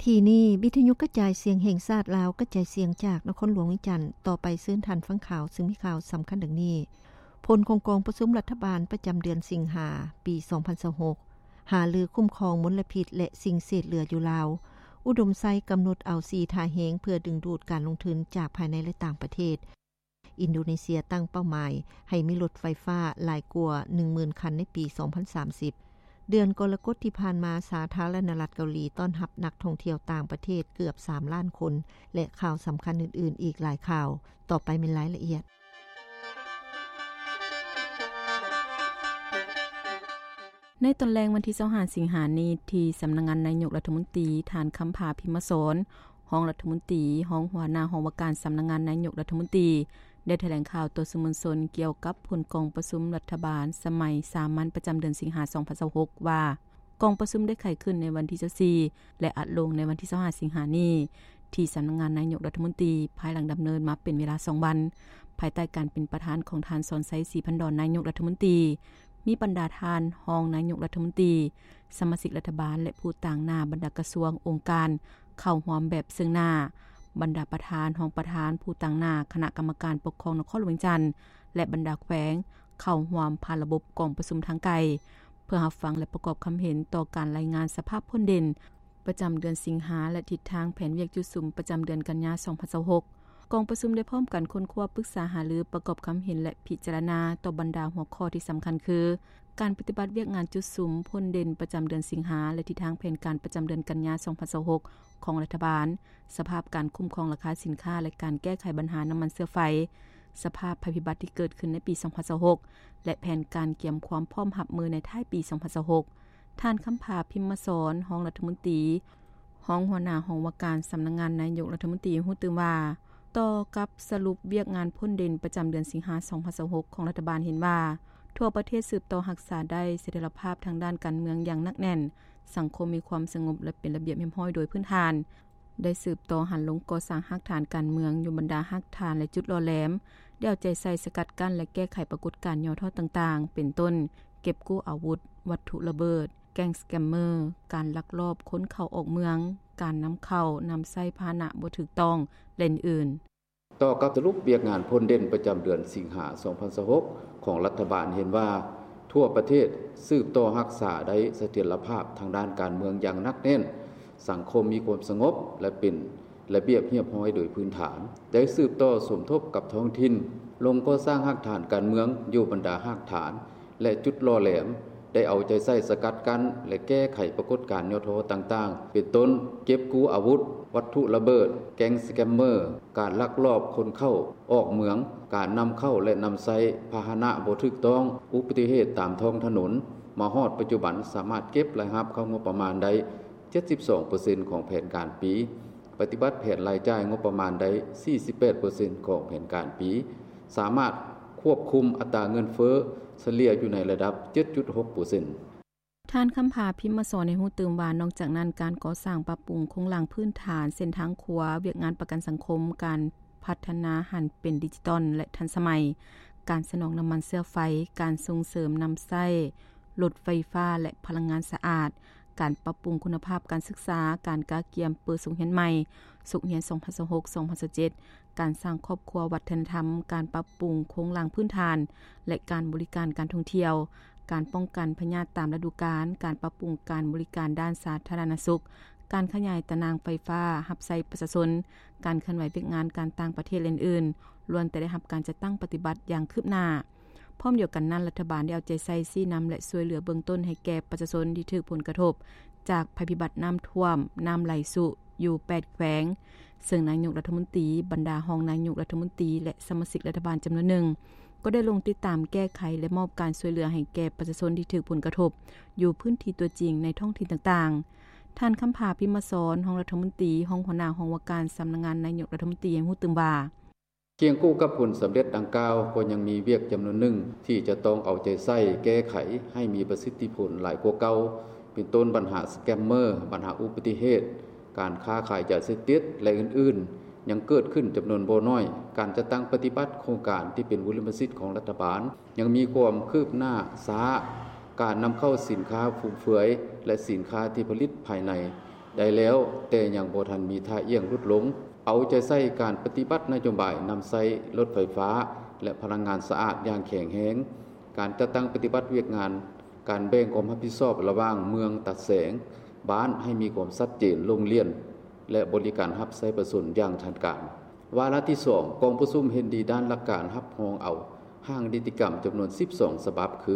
ທີ່ນີ້ ວິທຍຸກະຈາຍສຽງແຫ່ງຊາດລາວ ກະຈາຍສຽງຈາກນະຄອນຫຼວງວຽງຈັນ. ຕໍ່ໄປເຊີນທ່ານຟັງຂ່າວ ຊຶ່ງມີຂ່າວສຳຄັນດັ່ງນີ້: ຜົນຂອງກອງປະຊຸມລັດຖະບານປະຈຳເດືອນສິງຫາ ປີສອງພັນຊາວຫົກ ຫາລືຄຸ້ມຄອງມົນລະພິດ ແລະ ສິ່ງເສດເຫຼືອຢູ່ລາວ. ອຸດົມໄຊກຳນົດເອົາສີ່ທ່າແຮງ ເພື່ອດຶງດູດການລົງທຶນຈາກພາຍໃນ ແລະ ຕ່າງປະເທດ. ອິນໂດເນເຊຍຕັ້ງເປົ້າໝາຍໃຫ້ມີລົດໄຟຟ້າຫຼາຍກວ່າໜຶ່ງໝື່ນຄັນໃນປີສອງພັນສາມສິບ. ເດືອນກໍລະກົດທີ່ຜ່ານມາ, ສາທາລະນະລັດເກົາຫຼີຕ້ອນຮັບນັກທ່ອງທ່ຽວຕ່າງປະເທດເກືອບສາມລ້ານຄົນ ແລະ ຂ່າວສຳຄັນອື່ນໆອີກຫຼາຍຂ່າວ. ຕໍ່ໄປແມ່ນລາຍລະອຽດ. ໃນຕອນແລງວັນທີຊາວຫ້າສິງຫານີ້, ທີ່ສຳນັກງານນາຍົກລັດຖະມົນຕີ, ທ່ານ ຄຳພາ ພິມມະສອນ, ຮອງລັດຖະມົນຕີ, ຮອງຫົວໜ້າຫ້ອງວ່າການສຳນັກງານນາຍົກລັດຖະມົນຕີ ໄດ້ຖະແຫຼງຂ່າວຕໍ່ສື່ມວນຊົນກ່ຽວກັບຜົນກອງປະຊຸມລັດຖະບານສະໄໝສາມັນປະຈຳເດືອນສິງຫາ ສອງພັນຊາວຫົກ ວ່າ ກອງປະຊຸມໄດ້ໄຂຂຶ້ນໃນວັນທີຊາວສີ່ ແລະ ອັດລົງໃນວັນທີຊາວຫ້າສິງຫານີ້ ທີ່ສຳນັກງານນາຍົກລັດຖະມົນຕີ ພາຍຫຼັງດຳເນີນມາເປັນເວລາສອງວັນ ພາຍໃຕ້ການເປັນປະທານຂອງທ່ານ ສອນໄຊ ສີພັນດອນ ນາຍົກລັດຖະມົນຕີ, ມີບັນດາທ່ານຮອງນາຍົກລັດຖະມົນຕີ, ສະມາຊິກລັດຖະບານ ແລະ ຜູ້ຕາງໜ້າບັນດາກະຊວງ, ອົງການ ເຂົ້າຮ່ວມແບບເຊິ່ງໜ້າ, ບັນດາປະທານ, ຮອງປະທານ, ຜູ້ຕາງໜ້າຄະນະກຳມະການປົກຄອງນະຄອນຫຼວງວຽງຈັນ ແລະ ບັນດາແຂວງ ເຂົ້າຮ່ວມຜ່ານລະບົບກອງປະຊຸມທາງໄກ ເພື່ອຮັບຟັງ ແລະ ປະກອບຄຳເຫັນຕໍ່ການລາຍງານສະພາບພົ້ນເດັ່ນ ປະຈຳເດືອນສິງຫາ ແລະ ທິດທາງແຜນວຽກຈຸດສຸມປະຈຳເດືອນກັນຍາ ສອງພັນຊາວຫົກ. ກອງປະຊຸມໄດ້ພ້ອມກັນຄົ້ນຄວ້າ, ປຶກສາຫາລື, ປະກອບຄຳເຫັນ ແລະ ພິຈາລະນາຕໍ່ບັນດາຫົວຂໍ້ທີ່ສຳຄັນຄື ການປະຕິບັດວຽກງານຈຸດສຸມພົ້ນເດັ່ນປະຈຳເດືອນສິງຫາ ແລະ ທິດທາງແຜນການປະຈຳເດືອນກັນຍາ ສອງພັນຊາວຫົກ ຂອງລັດຖະບານ, ສະພາບການຄຸ້ມຄອງລາຄາສິນຄ້າ ແລະ ການແກ້ໄຂບັນຫານ້ຳມັນເຊື້ອໄຟ, ສະພາບໄພພິບັດທີ່ເກີດຂຶ້ນໃນປີ ສອງພັນຊາວຫົກ ແລະ ແຜນການກຽມຄວາມພ້ອມຮັບມືໃນທ້າຍປີ ສອງພັນຊາວຫົກ. ທ່ານ ຄຳພາ ພິມມະສອນ, ຮອງລັດຖະມົນຕີ, ຮອງຫົວໜ້າຫ້ອງວ່າການສຳນັກງານນາຍົກລັດຖະມົນຕີ ຮູ້ຕື່ມວ່າ, ຕໍ່ກັບສະຫຼຸບວຽກງານພົ້ນເດັ່ນປະຈຳເດືອນສິງຫາ ສອງພັນຊາວຫົກ ຂອງລັດຖະບານເຫັນວ່າ, ທົ່ວປະເທດສືບຕໍ່ຮັກສາໄດ້ສະຖຽນລະພາບທາງດ້ານການເມືອງຢ່າງໜັກແໜ້ນ, ສັງຄົມມີຄວາມສະຫງົບ ແລະ ເປັນລະບຽບຮຽບຮ້ອຍໂດຍພື້ນຖານ, ໄດ້ສືບຕໍ່ຫັນລົງກໍ່ສ້າງຮາກຖານການເມືອງຢູ່ບັນດາຮາກຖານ ແລະ ຈຸດຫຼໍ່ແຫຼມ, ໄດ້ເອົາໃຈໃສ່ສະກັດກັ້ນ ແລະ ແກ້ໄຂປາກົດການຫຍໍ້ທໍ້ຕ່າງໆ ເປັນຕົ້ນ ເກັບກູ້ອາວຸດ, ວັດຖຸລະເບີດ, ແກ້ງສະແກມເມີ, ການລັກລອບຄົນເຂົ້າອອກເມືອງ, ການນຳເຂົ້າ, ນຳໃຊ້ພາຫະນະບໍ່ຖືກຕ້ອງ ແລະ ອື່ນໆ. ຕໍ່ກັບສະຫຼຸບວຽກງານພົ້ນເດັ່ນປະຈຳເດືອນສິງຫາ ສອງພັນຊາວຫົກ ຂອງລັດຖະບານເຫັນວ່າ, ທົ່ວປະເທດສືບຕໍ່ຮັກສາໄດ້ສະຖຽນລະພາບທາງດ້ານການເມືອງຢ່າງໜັກແໜ້ນ, ສັງຄົມມີຄວາມສະຫງົບ ແລະ ເປັນລະບຽບຮຽບຮ້ອຍໂດຍພື້ນຖານ, ໄດ້ສືບຕໍ່ສົມທົບກັບທ້ອງຖິ່ນ, ລົງກໍ່ສ້າງຮາກຖານການເມືອງຢູ່ບັນດາຮາກຖານ ແລະ ຈຸດຫຼໍ່ແຫຼມ, ໄດ້ເອົາໃຈໃສ່ສະກັດກັ້ນ ແລະ ແກ້ໄຂປາກົດການຫຍໍ້ທໍ້ຕ່າງໆ ເປັນຕົ້ນ ເກັບກູ້ອາວຸດ, ວັດຖຸລະເບີດ, ແກ້ງສະແກມເມີ, ການລັກລອບຄົນເຂົ້າອອກເມືອງ, ການນຳເຂົ້າ ແລະ ນຳໃຊ້ພາຫະນະບໍ່ຖືກຕ້ອງ, ອຸບັດຕິເຫດຕາມທ້ອງຖະໜົນ, ມາຮອດປັດຈຸບັນສາມາດເກັບລາຍຮັບເຂົ້າງົບປະມານໄດ້ ເຈັດສິບສອງເປີເຊັນ ຂອງແຜນການປີ, ປະຕິບັດແຜນລາຍຈ່າຍງົບປະມານໄດ້ ສີ່ສິບແປດເປີເຊັນ ຂອງແຜນການປີ, ສາມາດຄວບຄຸມອັດຕາເງິນເຟີ້ສະເລ່ຍຢູ່ໃນລະດັບ ເຈັດຈຸດຫົກເປີເຊັນ. ທ່ານ ຄຳພາ ພິມມະສອນ ໃຫ້ຮູ້ຕື່ມວ່າ, ນອກຈາກນັ້ນ, ການກໍ່ສ້າງປັບປຸງໂຄງລ່າງພື້ນຖານ, ເສັ້ນທາງຂົວ, ວຽກງານປະກັນສັງຄົມ, ການພັດທະນາຫັນເປັນດິຈິຕອນ ແລະ ທັນສະໄໝ, ການສະໜອງນ້ຳມັນເຊື້ອໄຟ, ການສົ່ງເສີມນຳໃຊ້ລົດໄຟຟ້າ ແລະ ພະລັງງານສະອາດ, ການປັບປຸງຄຸນນະພາບການສຶກສາ, ການກະກຽມເປີສົກຮຽນໃໝ່, ສົກຮຽນສອງພັນຊາວຫົກ ສອງພັນຊາວເຈັດ, ການສ້າງຄອບຄົວວັດທະນະທຳ, ການປັບປຸງໂຄງລ່າງພື້ນຖານ ແລະ ການບໍລິການການທ່ອງທ່ຽວ, ການປ້ອງກັນພະຍາດຕາມລະດູການ, ການປັບປຸງການບໍລິການດ້ານສາທາລະນະສຸກ, ການຂະຫຍາຍຕາໜ່າງໄຟຟ້າຮັບໃຊ້ປະຊາຊົນ, ການເຄື່ອນໄຫວວຽກງານການຕ່າງປະເທດ ແລະ ອື່ນໆ, ລ້ວນແຕ່ໄດ້ຮັບການຈັດຕັ້ງປະຕິບັດຢ່າງຄືບໜ້າ. ພ້ອມດຽວກັນນັ້ນ, ລັດຖະບານໄດ້ເອົາໃຈໃສ່ຊີ້ນຳ ແລະ ຊ່ວຍເຫຼືອເບື້ອງຕົ້ນໃຫ້ແກ່ປະຊາຊົນທີ່ຖືກຜົນກະທົບຈາກໄພພິບັດນ້ຳຖ້ວມ, ນ້ຳໄຫຼຊຸ ຢູ່ແປດແຂວງ, ເຊິ່ງນາຍົກລັດຖະມົນຕີ, ບັນດາຮອງນາຍົກລັດຖະມົນຕີ ແລະ ສະມາຊິກລັດຖະບານຈຳນວນໜຶ່ງ ກໍໄດ້ລົງຕິດຕາມແກ້ໄຂ ແລະ ມອບການຊ່ວຍເຫຼືອໃຫ້ແກ່ປະຊາຊົນທີ່ຖືກຜົນກະທົບຢູ່ພື້ນທີ່ຕົວຈິງໃນທ້ອງຖິ່ນຕ່າງໆ. ທ່ານ ຄຳພາ ພິມມະສອນ, ຮອງລັດຖະມົນຕີ, ຮອງຫົວໜ້າຫ້ອງວ່າການສຳນັກງານນາຍົກລັດຖະມົນຕີ ໃຫ້ຮູ້ຕື່ມວ່າ, ຄຽງຄູ່ກັບຜົນສຳເລັດດັ່ງກ່າວ, ກໍຍັງມີວຽກຈຳນວນໜຶ່ງທີ່ຈະຕ້ອງເອົາໃຈໃສ່ແກ້ໄຂໃຫ້ມີປະສິດທິຜົນຫຼາຍກວ່າເກົ່າ, ເປັນຕົ້ນບັນຫາສະແກມເມີ, ບັນຫາອຸບັດຕິເຫດ, ການຄ້າຂາຍຢາເສບຕິດ ແລະ ອື່ນໆ ຍັງເກີດຂຶ້ນຈຳນວນບໍ່ໜ້ອຍ. ການຈັດຕັ້ງປະຕິບັດໂຄງການທີ່ເປັນບຸລິມະສິດຂອງລັດຖະບານ ຍັງມີຄວາມຄືບໜ້າຊ້າ, ການນຳເຂົ້າສິນຄ້າຟຸມເຟືອຍ ແລະ ສິນຄ້າທີ່ຜະລິດພາຍໃນ ໄດ້ແລ້ວ, ແຕ່ຍັງບໍ່ທັນມີທ່າອ່ຽງຫຼຸດລົງ. ເອົາໃຈໃສ່ການປະຕິບັດນະໂຍບາຍນຳໃຊ້ລົດໄຟຟ້າ ແລະ ພະລັງງານສະອາດຢ່າງແຂງແຮງ, ການຈັດຕັ້ງປະຕິບັດວຽກງານ ການແບ່ງຄວາມຮັບຜິດຊອບລະຫວ່າງເມືອງ, ຕາແສງ, ບ້ານ ໃຫ້ມີຄວາມຊັດເຈນ, ໂລ່ງລ່ຽນ ແລະ ບໍລິການຮັບໃຊ້ປະຊາຊົນຢ່າງທັນການ. ວາລະທີສອງ, ກອງປະຊຸມເຫັນດີດ້ານຫຼັກການຮັບຮອງເອົາຮ່າງນິຕິກຳຈຳນວນສິບສອງສະບັບ ຄື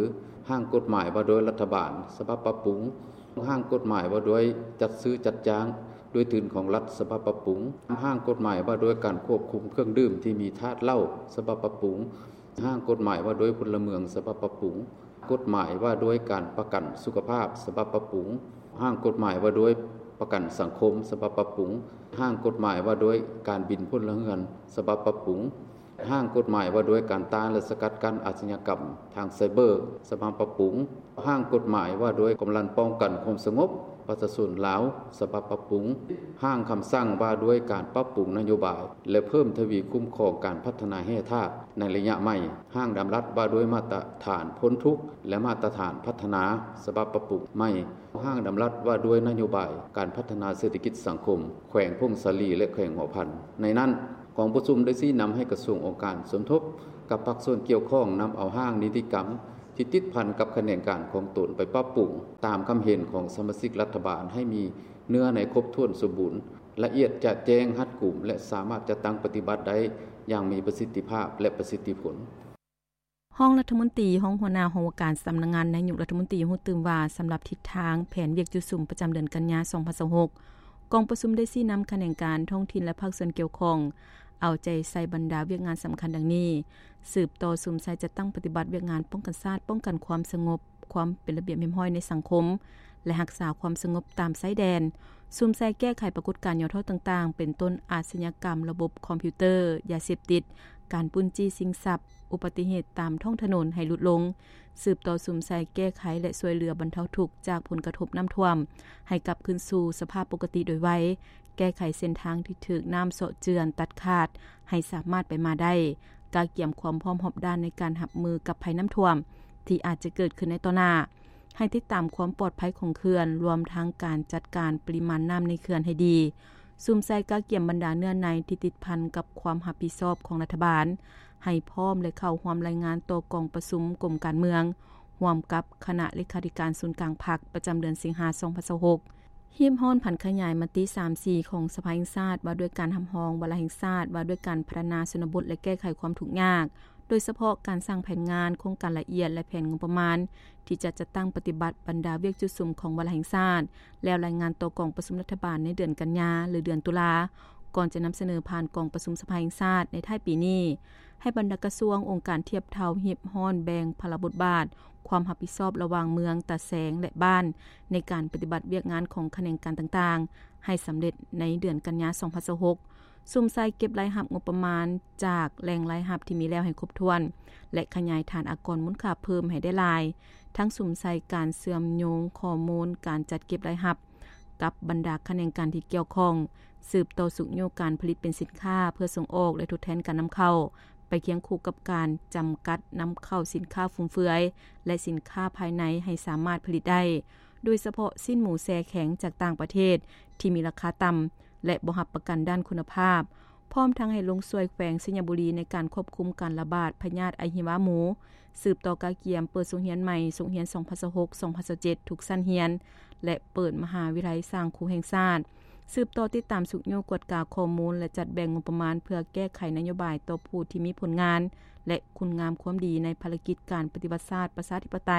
ຮ່າງກົດໝາຍວ່າດ້ວຍລັດຖະບານສະບັບປັບປຸງ, ຮ່າງກົດໝາຍວ່າດ້ວຍຈັດຊື້ຈັດຈ້າງດ້ວຍທຶນຂອງລັດສະບັບປັບປຸງ, ຮ່າງກົດໝາຍວ່າດ້ວຍການຄວບຄຸມເຄື່ອງດື່ມທີ່ມີທາດເຫຼົ້າສະບັບປັບປຸງ, ຮ່າງກົດໝາຍວ່າດ້ວຍພົນລະເມືອງສະບັບປັບປຸງ, ກົດໝາຍວ່າດ້ວຍການປະກັນສຸຂະພາບສະບັບປັບປຸງ, ຮ່າງກົດໝາຍວ່າດ້ວຍປະກັນສັງຄົມສະບັບປັບປຸງ, ຮ່າງກົດໝາຍວ່າດ້ວຍການບິນພົນລະເຮືອນສະບັບປັບປຸງ, ຮ່າງກົດໝາຍວ່າດ້ວຍການຕ້ານ ແລະ ສະກັດກັ້ນອາຊະຍາກຳທາງໄຊເບີສະບັບປັບປຸງ, ຮ່າງກົດໝາຍວ່າດ້ວຍກຳລັງປ້ອງກັນຄວາມສະຫງົບປະຊາຊົນລາວສະບັບປັບປຸງ, ຮ່າງຄຳສັ່ງວ່າດ້ວຍການປັບປຸງນະໂຍບາຍ ແລະ ເພີ່ມທະວີຄຸ້ມຄອງການພັດທະນາແຮ່ທາດໃນໄລຍະໃໝ່, ຮ່າງດຳລັດວ່າດ້ວຍມາດຕະຖານພົ້ນທຸກ ແລະ ມາດຕະຖານພັດທະນາສະບັບປັບປຸງໃໝ່, ຮ່າງດຳລັດວ່າດ້ວຍນະໂຍບາຍການພັດທະນາເສດຖະກິດສັງຄົມແຂວງຜົ້ງສາລີ ແລະ ແຂວງຫົວພັນ. ໃນນັ້ນ, ກອງປະຊຸມໄດ້ຊີ້ນຳໃຫ້ກະຊວງ, ອົງການສົມທົບກັບພາກສ່ວນກ່ຽວຂ້ອງ ນຳເອົາຮ່າງນິຕິກຳທີ່ຕິດພັນກັບຂະແໜງການຂອງຕົນໄປປັບປຸງ ຕາມຄຳເຫັນຂອງສະມາຊິກລັດຖະບານ ໃຫ້ມີເນື້ອໃນຄົບຖ້ວນສົມບູນ, ລະອຽດຈະແຈ້ງ, ຮັດກຸມ ແລະ ສາມາດຈັດຕັ້ງປະຕິບັດໄດ້ຢ່າງມີປະສິດທິພາບ ແລະ ປະສິດທິຜົນ. ຮອງລັດຖະມົນຕີ, ຮອງຫົວໜ້າຫ້ອງວ່າການສຳນັກງານນາຍົກລັດຖະມົນຕີ ຮູ້ຕື່ມວ່າ ສຳລັບທິດທາງແຜນວຽກຈຸດສຸມປະຈຳເດືອນກັນຍາ ສອງພັນຊາວຫົກ, ກອງປະຊຸມໄດ້ຊີ້ນຳຂະແໜງການທ້ອງຖິ່ນ ແລະ ພາກສ່ວນກ່ຽວຂ້ອງ ເອົາໃຈໃສ່ບັນດາວຽກງານສຳຄັນດັ່ງນີ້: ສືບຕໍ່ສຸມໃສ່ຈັດຕັ້ງປະຕິບັດວຽກງານປ້ອງກັນຊາດ, ປ້ອງກັນຄວາມສະຫງົບ, ຄວາມເປັນລະບຽບຮຽບຮ້ອຍໃນສັງຄົມ ແລະ ຮັກສາຄວາມສະຫງົບຕາມຊາຍແດນ, ສຸມໃສ່ແກ້ໄຂປາກົດການຫຍໍ້ທໍ້ຕ່າງໆ ເປັນຕົ້ນອາຊະຍາກຳລະບົບຄອມພິວເຕີ, ຢາເສບຕິດ, ການປຸ້ນຈີ້ຊິງຊັບ, ອຸບັດຕິເຫດຕາມທ້ອງຖະໜົນໃຫ້ຫຼຸດລົງ, ສືບຕໍ່ສຸມໃສ່ແກ້ໄຂ ແລະ ຊ່ວຍເຫຼືອບັນເທົາທຸກຈາກຜົນກະທົບນ້ຳຖ້ວມ ໃຫ້ກັບຄືນສູ່ສະພາບປົກກະຕິໂດຍໄວ, ແກ້ໄຂເສັ້ນທາງທີ່ຖືກນ້ຳເຊາະເຈື່ອນຕັດຂາດ ໃຫ້ສາມາດໄປມາໄດ້, ກະກຽມຄວາມພ້ອມຮອບດ້ານໃນການຮັບມືກັບໄພນ້ຳຖ້ວມທີ່ອາດຈະເກີດຂຶ້ນໃນຕໍ່ໜ້າ, ໃຫ້ຕິດຕາມຄວາມປອດໄພຂອງເຂື່ອນ, ລວມທັງການຈັດການປະລິມານນ້ຳໃນເຂື່ອນໃຫ້ດີ, ສຸມໃສ່ກະກຽມບັນດາເນື້ອໃນທີ່ຕິດພັນກັບຄວາມຮັບຜິດຊອບຂອງລັດຖະບານ ໃຫ້ພ້ອມ ແລະ ເຂົ້າຮ່ວມລາຍງານຕໍ່ກອງປະຊຸມກົມການເມືອງ ຮ່ວມກັບຄະນະເລຂາທິການສູນກາງພັກ ປະຈຳເດືອນສິງຫາ ສອງພັນຊາວຫົກ. ຮີບຮ້ອນຜັນຂະຫຍາຍມະຕິ ສາມສີ່ ຂອງສະພາແຫ່ງຊາດ ວ່າດ້ວຍການຮັບຮອງວາລະແຫ່ງຊາດ ວ່າດ້ວຍການພັດທະນາຊົນນະບົດ ແລະ ແກ້ໄຂຄວາມທຸກຍາກ, ໂດຍສະເພາະການສ້າງແຜນງານ, ໂຄງການລະອຽດ ແລະ ແຜນງົບປະມານ ທີ່ຈະຈັດຕັ້ງປະຕິບັດບັນດາວຽກຈຸດສຸມຂອງວາລະແຫ່ງຊາດ ແລ້ວລາຍງານຕໍ່ກອງປະຊຸມລັດຖະບານໃນເດືອນກັນຍາ ຫຼື ເດືອນຕຸລາ, ກ່ອນຈະນຳສະເໜີຜ່ານກອງປະຊຸມສະພາແຫ່ງຊາດໃນທ້າຍປີນີ້. ໃຫ້ບັນດາກະຊວງ, ອົງການທຽບເທົ່າຮີບຮ້ອນແບ່ງພາລະບົດບາດ, ຄວາມຮັບຜິດຊອບລະຫວ່າງເມືອງ, ຕາແສງ ແລະ ບ້ານ ໃນການປະຕິບັດວຽກງານຂອງຂະແໜງການຕ່າງໆ ໃຫ້ສຳເລັດໃນເດືອນກັນຍາ ສອງພັນຊາວຫົກ. ສຸມໃສ່ເກັບລາຍຮັບງົບປະມານຈາກແຫຼ່ງລາຍຮັບທີ່ມີແລ້ວໃຫ້ຄົບຖ້ວນ ແລະ ຂະຫຍາຍຖານອາກອນມູນຄ່າເພີ່ມໃຫ້ໄດ້ຫຼາຍ, ທັງສຸມໃສ່ການເຊື່ອມໂຍງຂໍ້ມູນການຈັດເກັບລາຍຮັບກັບບັນດາຂະແໜງການທີ່ກ່ຽວຂ້ອງ, ສືບຕໍ່ຊຸກຍູ້ການຜະລິດເປັນສິນຄ້າເພື່ອສົ່ງອອກ ແລະ ທົດແທນການນຳເຂົ້າ, ໄປຄຽງຄູ່ກັບການຈຳກັດນຳເຂົ້າສິນຄ້າຟຸມເຟືອຍ ແລະ ສິນຄ້າພາຍໃນໃຫ້ສາມາດຜະລິດໄດ້, ໂດຍສະເພາະຊີ້ນໝູແຊ່ແຂງຈາກຕ່າງປະເທດທີ່ມີລາຄາຕ່ຳ ແລະ ບໍ່ຮັບປະກັນດ້ານຄຸນນະພາບ, ພ້ອມທັງໃຫ້ລົງຊ່ວຍແຂວງໄຊຍະບູລີໃນການຄວບຄຸມການລະບາດພະຍາດອະຫິວາໝູ, ສືບຕໍ່ກະກຽມເປີດສົກຮຽນໃໝ່ ສົກຮຽນ ສອງພັນຊາວຫົກ ສອງພັນຊາວເຈັດ ທຸກຊັ້ນຮຽນ ແລະ ເປີດມະຫາວິທະຍາໄລສ້າງຄູແຫ່ງຊາດ, ສືບຕໍ່ຕິດຕາມຊຸກຍູ້ກວດກາຂໍ້ມູນ ແລະ ຈັດແບ່ງງົບປະມານເພື່ອແກ້ໄຂນະໂຍບາຍຕໍ່ຜູ້ທີ່ມີຜົນງານ ແລະ ຄຸນງາມຄວາມດີໃນພາລະກິດການປະຕິວັດຊາດປະຊາທິປະໄຕ,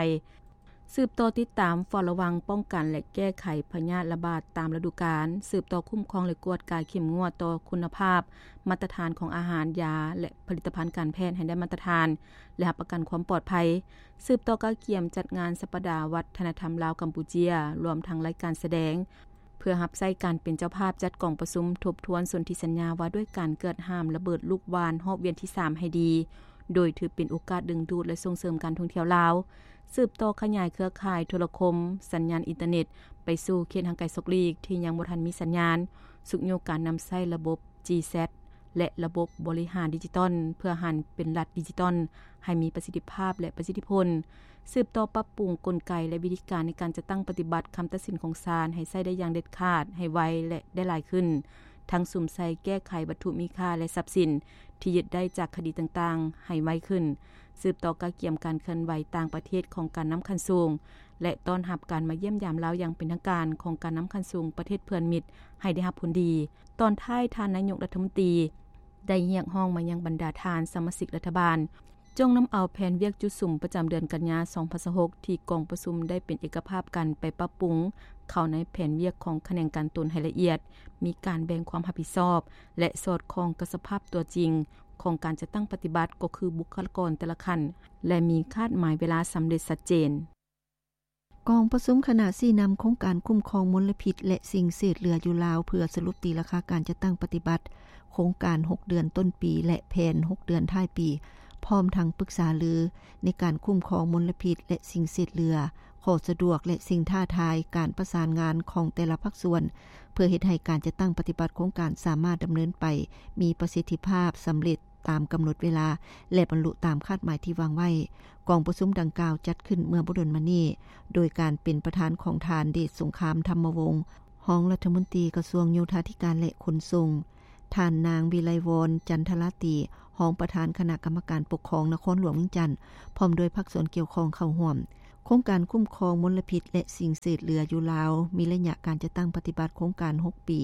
ສືບຕໍ່ຕິດຕາມເຝົ້າລະວັງ, ປ້ອງກັນ ແລະ ແກ້ໄຂພະຍາດລະບາດຕາມລະດູການ, ສືບຕໍ່ຄຸ້ມຄອງ ແລະ ກວດກາເຂັ້ມງວດຕໍ່ຄຸນນະພາບ, ມາດຕະຖານຂອງອາຫານ, ຢາ ແລະ ຜະລິດຕະພັນການແພດໃຫ້ໄດ້ມາດຕະຖານ ແລະ ຮັບປະກັນຄວາມປອດໄພ, ສືບຕໍ່ກະກຽມຈັດງານສັບປະດາວັດທະນະທຳລາວ-ກຳປູເຈຍ, ລວມທັງລາຍການສະແດງ ເພື່ອຮັບໃຊ້ການເປັນເຈົ້າພາບຈັດກອງປະຊຸມທົບທວນສົນທິສັນຍາວ່າດ້ວຍການເກືອດຫ້າມລະເບີດລູກຫວ່ານຮອບວຽນທີສາມໃຫ້ດີ, ໂດຍຖືເປັນໂອກາດດຶງດູດ ແລະ ສົ່ງເສີມການທ່ອງທ່ຽວລາວ, ສືບຕໍ່ຂະຫຍາຍເຄືອຂ່າຍໂທລະຄົມ, ສັນຍານອິນເຕີເນັດ ໄປສູ່ເຂດຫ່າງໄກສອກຫຼີກທີ່ຍັງບໍ່ທັນມີສັນຍານ, ຊຸກຍູ້ການນຳໃຊ້ລະບົບ ຈີແຊັດ ແລະ ລະບົບບໍລິຫານດິຈິຕອນ ເພື່ອຫັນເປັນລັດດິຈິຕອນ ໃຫ້ມີປະສິດທິພາບ ແລະ ປະສິດທິຜົນ, ສືບຕໍ່ປັບປຸງກົນໄກ ແລະ ວິທີການໃນການຈັດຕັ້ງປະຕິບັດຄຳຕັດສິນຂອງສານ ໃຫ້ໃຊ້ໄດ້ຢ່າງເດັດຂາດ, ໃຫ້ໄວ ແລະ ໄດ້ຫຼາຍຂຶ້ນ, ທັງສຸມໃສ່ແກ້ໄຂວັດຖຸມີຄ່າ ແລະ ຊັບສິນທີ່ຍຶດໄດ້ຈາກຄະດີຕ່າງໆ ໃຫ້ໄວຂຶ້ນ, ສືບຕໍ່ກະກຽມການເຄື່ອນໄຫວຕ່າງປະເທດຂອງການນຳຂັ້ນສູງ ແລະ ຕ້ອນຮັບການມາຢ້ຽມຢາມລາວຢ່າງເປັນທາງການຂອງການນຳຂັ້ນສູງປະເທດເພື່ອນມິດໃຫ້ໄດ້ຮັບຜົນດີ. ຕອນທ້າຍ, ທ່ານນາຍົກລັດຖະມົນຕີ ໄດ້ຮຽກຮ້ອງມາຍັງບັນດາທ່ານສະມາຊິກລັດຖະບານ ຈົ່ງນຳເອົາແຜນວຽກຈຸດສຸມປະຈຳເດືອນກັນຍາ ສອງພັນຊາວຫົກ ທີ່ກອງປະຊຸມໄດ້ເປັນເອກະພາບກັນໄປປັບປຸງເຂົ້າໃນແຜນວຽກຂອງຂະແໜງການຕົນໃຫ້ລະອຽດ, ມີການແບ່ງຄວາມຮັບຜິດຊອບ ແລະ ສອດຄ່ອງກັບສະພາບຕົວຈິງຂອງການຈັດຕັ້ງປະຕິບັດ ກໍຄືບຸກຄະລາກອນແຕ່ລະຂັ້ນ ແລະ ມີຄາດໝາຍເວລາສຳເລັດຊັດເຈນ. ກອງປະຊຸມຄະນະຊີ້ນຳໂຄງການຄຸ້ມຄອງມົນລະພິດ ແລະ ສິ່ງເສດເຫຼືອຢູ່ລາວ ເພື່ອສະຫຼຸບຕີລາຄາການຈັດຕັ້ງປະຕິບັດໂຄງການຫົກເດືອນຕົ້ນປີ ແລະ ແຜນຫົກເດືອນທ້າຍປີ, ພ້ອມທັງປຶກສາລືໃນການຄຸ້ມຄອງມົນລະພິດ ແລະ ສິ່ງເສດເຫຼືອ, ຂໍ້ສະດວກ ແລະ ສິ່ງທ້າທາຍ, ການປະສານງານຂອງແຕ່ລະພາກສ່ວນ ເພື່ອເຮັດໃຫ້ການຈັດຕັ້ງປະຕິບັດໂຄງການສາມາດດຳເນີນໄປມີປະສິດທິພາບ, ສຳເລັດ ຕາມກຳນົດເວລາ ແລະ ບັນລຸຕາມຄາດໝາຍທີ່ວາງໄວ້. ກອງປະຊຸມດັ່ງກ່າວຈັດຂຶ້ນເມື່ອບໍ່ດົນມານີ້ ໂດຍການເປັນປະທານຂອງທ່ານ ເດດສົງຄາມ ທຳມະວົງ ຮອງລັດຖະມົນຕີກະຊວງໂຍທາທິການ ແລະ ຂົນສົ່ງ, ທ່ານນາງ ວິໄລວອນ ຈັນທະລາຕີ ຮອງປະທານຄະນະກຳມະການປົກຄອງນະຄອນຫຼວງວຽງຈັນ ພ້ອມດ້ວຍພາກສ່ວນກ່ຽວຂ້ອງເຂົ້າຮ່ວມ. ໂຄງການຄຸ້ມຄອງມົນລະພິດ ແລະ ສິ່ງເສດເຫຼືອຢູ່ລາວ ມີໄລຍະການຈັດຕັ້ງປະຕິບັດໂຄງການຫົກປີ,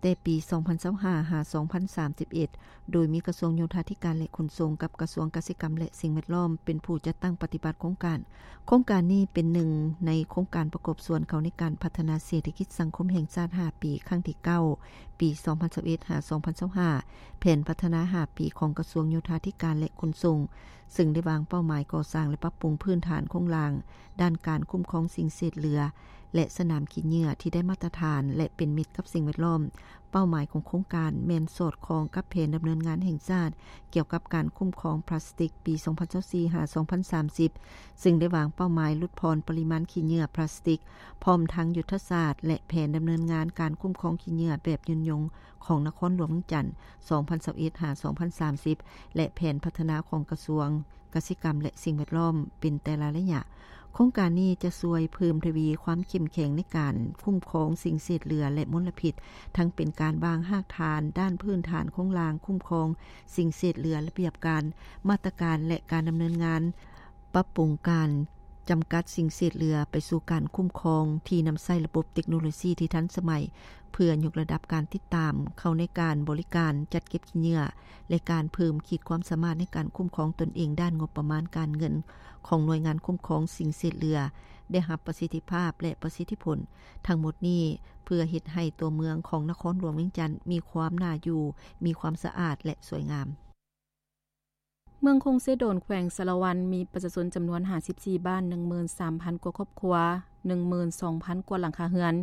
ແຕ່ປີສອງພັນຊາວຫ້າ ຫາ ສອງພັນສາມສິບເອັດ ໂດຍມີກະຊວງໂຍທາທິການ ແລະ ຂົນສົ່ງ ກັບກະຊວງກະສິກຳ ແລະ ສິ່ງແວດລ້ອມ ເປັນຜູ້ຈັດຕັ້ງປະຕິບັດໂຄງການ. ໂຄງການນີ້ເປັນໜຶ່ງໃນໂຄງການປະກອບສ່ວນເຂົ້າໃນການພັດທະນາເສດຖະກິດສັງຄົມແຫ່ງຊາດຫ້າປີ ຄັ້ງທີເກົ້າ ປີສອງພັນຊາວເອັດ ຫາ ສອງພັນຊາວຫ້າ, ແຜນພັດທະນາຫ້າປີຂອງກະຊວງໂຍທາທິການ ແລະ ຂົນສົ່ງ, ເຊິ່ງໄດ້ວາງເປົ້າໝາຍກໍ່ສ້າງ ແລະ ປັບປຸງພື້ນຖານໂຄງລ່າງ ດ້ານການຄຸ້ມຄອງສິ່ງເສດເຫຼືອ ແລະ ສະໜາມຂີ້ເຫຍື້ອທີ່ໄດ້ມາດຕະຖານ ແລະ ເປັນມິດກັບສິ່ງແວດລ້ອມ. ເປົ້າໝາຍຂອງໂຄງການແມ່ນສອດຄ່ອງກັບແຜນດຳເນີນງານແຫ່ງຊາດກ່ຽວກັບການຄຸ້ມຄອງພລາສຕິກປີສອງພັນຊາວສີ່ ຫາ ສອງພັນສາມສິບ ເຊິ່ງໄດ້ວາງເປົ້າໝາຍຫຼຸດຜ່ອນປະລິມານຂີ້ເຫຍື້ອພລາສຕິກ, ພ້ອມທັງຍຸດທະສາດ ແລະ ແຜນດຳເນີນງານການຄຸ້ມຄອງຂີ້ເຫຍື້ອແບບຍືນຍົງຂອງນະຄອນຫຼວງວຽງຈັນ ສອງພັນຊາວເອັດ ຫາ ສອງພັນສາມສິບ ແລະ ແຜນພັດທະນາຂອງກະຊວງ ກະສິກຳ ແລະ ສິ່ງແວດລ້ອມ ເປັນແຕ່ລະໄລຍະ. ໂຄງການນີ້ຈະຊ່ວຍເພີ່ມທະວີຄວາມເຂັ້ມແຂງໃນການຄຸ້ມຄອງສິ່ງເສດເຫຼືອ ແລະ ມົນລະພິດ, ທັງເປັນການວາງຮາກຖານດ້ານພື້ນຖານໂຄງລ່າງຄຸ້ມຄອງສິ່ງເສດເຫຼືອ, ລະບຽບການ, ມາດຕະການ ແລະ ການດຳເນີນງານ, ປັບປຸງການຈຳກັດສິ່ງເສດເຫຼືອໄປສູ່ການຄຸ້ມຄອງທີ່ນຳໃຊ້ລະບົບເຕັກໂນໂລຊີທີ່ທັນສະໄໝ ເພື່ອຍົກລະດັບການຕິດຕາມເຂົ້າໃນການບໍລິການຈັດເກັບຂີ້ເຫຍື້ອ ແລະ ການເພີ່ມຂີດຄວາມສາມາດໃນການຄຸ້ມຄອງຕົນເອງດ້ານງົບປະມານການເງິນຂອງໜ່ວຍງານຄຸ້ມຄອງສິ່ງເສດເຫຼືອ ໄດ້ຮັບປະສິດທິພາບ ແລະ ປະສິດທິຜົນ. ທັງໝົດນີ້ເພື່ອເຮັດໃຫ້ຕົວເມືອງຂອງນະຄອນຫຼວງວຽງຈັນມີຄວາມໜ້າຢູ່, ມີຄວາມສະອາດ ແລະ ສວຍງາມ. ເມືອງຄົງເຊໂດນ ແຂວງສາລະວັນ ມີປະຊາຊົນຈຳນວນຫ້າສິບສີ່ບ້ານ, ໜຶ່ງໝື່ນສາມພັນກວ່າຄອບຄົວ, ໜຶ່ງໝື່ນສອງພັນກວ່າຫຼັງຄາເຮືອນ,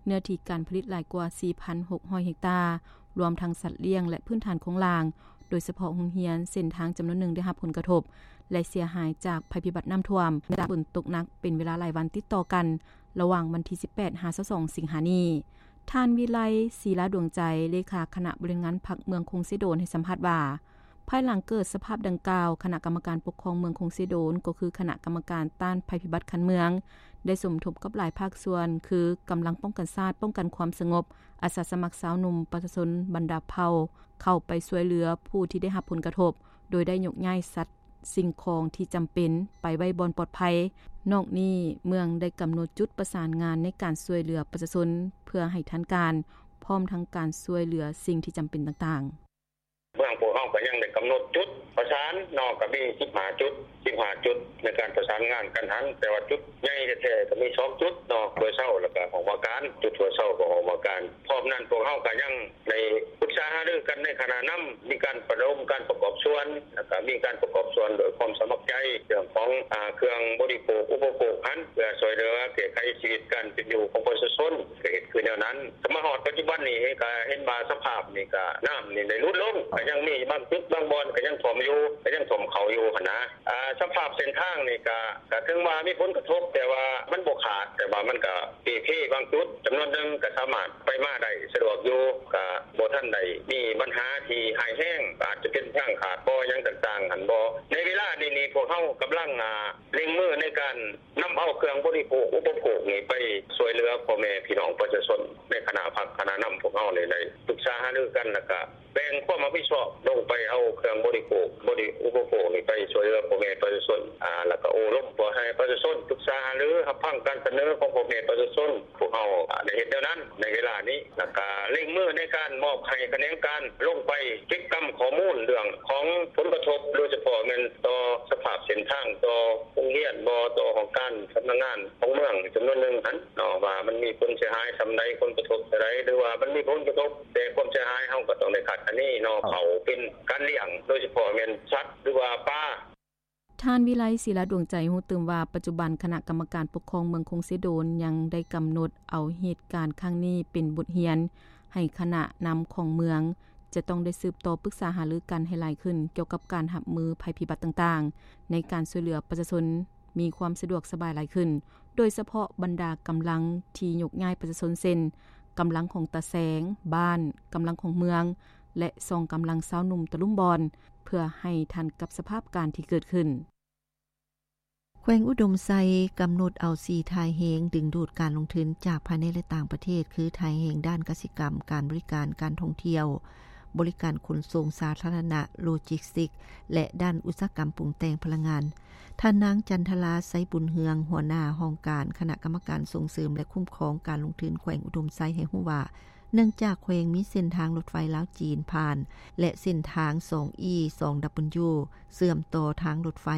ເນື້ອທີ່ການຜະລິດຫຼາຍກວ່າສີ່ພັນຫົກຮ້ອຍເຮັກຕາ, ລວມທັງສັດລ້ຽງ ແລະ ພື້ນຖານໂຄງລ່າງ, ໂດຍສະເພາະໂຮງຮຽນ, ເສັ້ນທາງຈຳນວນໜຶ່ງໄດ້ຮັບຜົນກະທົບ ແລະ ເສຍຫາຍຈາກໄພພິບັດນ້ຳຖ້ວມ, ຈາກຝົນຕົກໜັກເປັນເວລາຫຼາຍວັນຕິດຕໍ່ກັນ ລະຫວ່າງວັນທີສິບແປດ ຫາ ຊາວສອງ ສິງຫານີ້. ທ່ານ ວິໄລ ສີລາດວງໃຈ ເລຂາຄະນະບໍລິຫານງານພັກເມືອງຄົງເຊໂດນ ໃຫ້ສຳພາດວ່າ ພາຍຫຼັງເກີດສະພາບດັ່ງກ່າວ, ຄະນະກຳມະການປົກຄອງເມືອງຄົງເຊໂດນ ກໍຄືຄະນະກຳມະການຕ້ານໄພພິບັດຂັ້ນເມືອງ ໄດ້ສົມທົບກັບຫຼາຍພາກສ່ວນ ຄື ກຳລັງປ້ອງກັນຊາດ, ປ້ອງກັນຄວາມສະຫງົບ, ອາສາສະໝັກຊາວໜຸ່ມ, ປະຊາຊົນບັນດາເຜົ່າ ເຂົ້າໄປຊ່ວຍເຫຼືອຜູ້ທີ່ໄດ້ຮັບຜົນກະທົບ, ໂດຍໄດ້ຍົກຍ້າຍສັດ ສິ່ງຂອງທີ່ຈຳເປັນໄປໄວ້ບ່ອນປອດໄພ. ນອກນີ້, ເມືອງໄດ້ກຳນົດຈຸດປະສານງານໃນການຊ່ວຍເຫຼືອປະຊາຊົນເພື່ອໃຫ້ທັນການ, ພ້ອມທັງການຊ່ວຍເຫຼືອສິ່ງທີ່ຈຳເປັນຕ່າງໆ. ເມືອງພວກເຮົາກໍຍັງໄດ້ກຳນົດຈຸດປະສານເນາະ, ກໍມີສິບຫ້າຈຸດ, ສິບຫ້າຈຸດໃນການປະສານງານກັນຫັ້ນ, ແຕ່ວ່າຈຸດໃຫຍ່ແທ້ໆກໍມີສອງຈຸດເນາະ, ຫ້ວຍເຊົາ ແລ້ວກໍຫ້ອງວ່າການ. ຈຸດຫ້ວຍເຊົາກັບຫ້ອງວ່າການ. ພ້ອມນັ້ນພວກເຮົາກໍຍັງໄດ້ປຶກສາຫາລືກັນໃນຄະນະນຳ, ມີການປະດົມການປະກອບສ່ວນ, ແລ້ວກໍມີການປະກອບສ່ວນໂດຍຄວາມສະໝັກໃຈ ເລື່ອງຂອງ ອາ ເຄື່ອງບໍລິໂພກອຸປະໂພກຫັ້ນ ເພື່ອຊ່ວຍເຫຼືອແກ້ໄຂຊີວິດການເປັນຢູ່ຂອງປະຊາຊົນ, ກໍເຮັດຄືແນວນັ້ນ. ກໍມາຮອດປັດຈຸບັນນີ້ກໍເຫັນວ່າສະພາບນີ້ກໍນ້ຳນີ້ໄດ້ຫຼຸດລົງ, ກໍຍັງ ບາງຈຸດບາງບ່ອນກໍຍັງຖ້ວມຢູ່ ກໍຍັງຖ້ວມເຂົ້າຢູ່ຫັ້ນນະ. ອາ ສະພາບເສັ້ນທາງນີ້ກໍ ກໍເຖິງວ່າມີຜົນກະທົບ ແຕ່ວ່າມັນບໍ່ຂາດ ແຕ່ວ່າມັນກໍເປ່ເພບາງຈຸດ ຈຳນວນໜຶ່ງກໍສາມາດໄປມາໄດ້ສະດວກຢູ່ ກໍບໍ່ທັນໄດ້ມີບັນຫາທີ່ຮ້າຍແຮງ ກໍອາດຈະເປັນທາງຂາດບໍ່ ຫຍັງຕ່າງໆຫັ້ນບໍ່. ໃນເວລານີ້ນີ້ ພວກເຮົາກຳລັງ ອາ ເລັ່ງມືໃນການນຳເອົາເຄື່ອງບໍລິໂພກ ອຸປະໂພກນີ້ໄປຊ່ວຍເຫຼືອພໍ່ແມ່ພີ່ນ້ອງປະຊາຊົນ. ໃນຄະນະພັກຄະນະນຳພວກເຮົານີ້ໄດ້ປຶກສາຫາລືກັນ ແລ້ວກະ ແບ່ງຄວາມຮັບຜິດຊອບລົງໄປເອົາເຄື່ອງບໍລິໂພກ ບໍລິ ອຸປະໂພກນີ້ໄປຊ່ວຍເຫຼືອພໍ່ແມ່ປະຊາຊົນ ອາ ແລ້ວກະໂອ້ລົມພໍ່ແມ່ປະຊາຊົນ ປຶກສາຫາລື ຮັບຟັງການສະເໜີຂອງພໍ່ແມ່ປະຊາຊົນ. ພວກເຮົາ ອາ ໄດ້ເຮັດແນວນັ້ນໃນເວລານີ້ ແລ້ວກະເລັ່ງມືໃນການມອບໃຫ້ຂະແໜງການລົງໄປເກັບກຳຂໍ້ມູນເລື່ອງຂອງຜົນກະທົບ ໂດຍສະເພາະແມ່ນຕໍ່ສະພາບເສັ້ນທາງ ຕໍ່ໂຮງຮຽນບໍ ຕໍ່ຫ້ອງການສຳນັກງານຂອງເມືອງຈຳນວນໜຶ່ງຫັ້ນເນາະ ວ່າມັນມີຜົນເສຍຫາຍສ່ຳໃດ ຜົນກະທົບສ່ຳໃດ ຫຼືວ່າມັນມີຜົນກະທົບ ແຕ່ຄວາມເສຍຫາຍເຮົາກໍຕ້ອງໄດ້ຄາດຄະເນເນາະ ເຂົ້າເປັນການລ້ຽງ ໂດຍສະເພາະແມ່ນສັດ ຫຼືວ່າປາ. ທ່ານ ວິໄລ ສີລາດວງໃຈ ຮູ້ຕື່ມວ່າ ປັດຈຸບັນຄະນະກຳມະການປົກຄອງເມືອງຄົງເຊໂດນ ຍັງໄດ້ກຳນົດເອົາເຫດການຄັ້ງນີ້ເປັນບົດຮຽນ ໃຫ້ຄະນະນຳຂອງເມືອງ ຈະຕ້ອງໄດ້ສືບຕໍ່ປຶກສາຫາລືກັນໃຫ້ຫຼາຍຂຶ້ນ ກ່ຽວກັບການຮັບມືໄພພິບັດຕ່າງໆ ໃນການຊ່ວຍເຫຼືອປະຊາຊົນ ມີຄວາມສະດວກສະບາຍຫຼາຍຂຶ້ນ ໂດຍສະເພາະບັນດາກຳລັງທີ່ຍົກຍ້າຍປະຊາຊົນ ເຊັ່ນ ກຳລັງຂອງຕາແສງ, ບ້ານ, ກຳລັງຂອງເມືອງ ແລະ ສອງກຳລັງຊາວໜຸ່ມຕະລຸມບ່ອນ ເພື່ອໃຫ້ທັນກັບສະພາບການທີ່ເກີດຂຶ້ນ. ແຂວງອຸດົມໄຊກຳນົດເອົາສີ່ທ່າແຮງດຶງດູດການລົງທຶນຈາກພາຍໃນ ແລະ ຕ່າງປະເທດ ຄື ທ່າແຮງດ້ານກະສິກຳ, ການບໍລິການ, ການທ່ອງທ່ຽວ, ບໍລິການຂົນສົ່ງສາທາລະນະ, ໂລຈິສຕິກ ແລະ ດ້ານອຸດສາຫະກຳປຸງແຕ່ງພະລັງງານ. ທ່ານນາງ ຈັນທະລາ ໄຊບຸນເຮືອງ ຫົວໜ້າຫ້ອງການຄະນະກຳມະການສົ່ງເສີມ ແລະ ຄຸ້ມຄອງການລົງທຶນແຂວງອຸດົມໄຊ ໃຫ້ຮູ້ວ່າ ເນື່ອງຈາກແຂວງມີເສັ້ນທາງລົດໄຟລາວ-ຈີນຜ່ານ ແລະ ເສັ້ນທາງ ສອງອີ ສອງດັບເບິນຢູ ເຊື່ອມຕໍ່ທາງລົດໄຟ